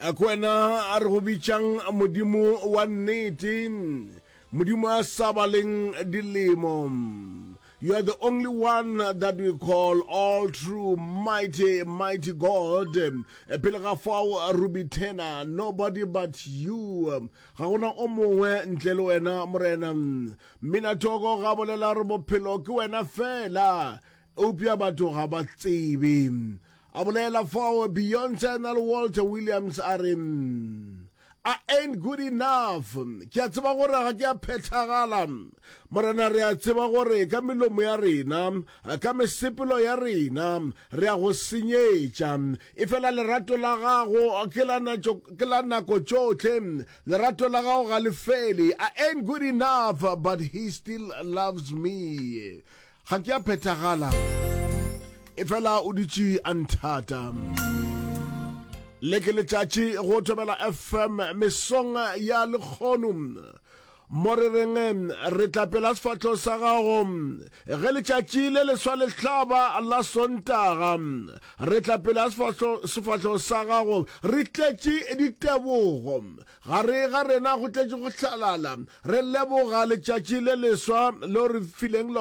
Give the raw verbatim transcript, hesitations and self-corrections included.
Ke wena a re go bitšang Modimo wa nnete, Modimo a sa baleng dilemo. You are the only one that we call all true, mighty, mighty God. Pele ga fao Ruby Turner, nobody but you. Ga gona o mongwe ntle le wena Morena. Mminathoko ga bolela re bophelo ke wena fela, eupša batho ga ba tsebe. A bolela fao Beyonce na le Walter Williams a re I ain't good enough. Ke a tseba gore ga ke a phethagala. Morena re a tseba gore ka melomo ya rena, ka mesepelo ya rena, re a go senyetša. Efela lerato la gago ke la ke la nako tšohle. Lerato la gago ga le fele. I ain't good enough, but he still loves me. Ga ke a phethagala. Efela o dutše a nthata. Le ke letšatši go Thobela FM mesong ya lekgono. Mo re reng re tla pela sefahlo sa gago ge letšatši le leswa le hlaba la Sontaga. Re tla pela sefahlo sa gago re tletše ditebogo. Gare ga rena go tletše go hlalala. Re leboga letšatši le leswa leo re fileng lona.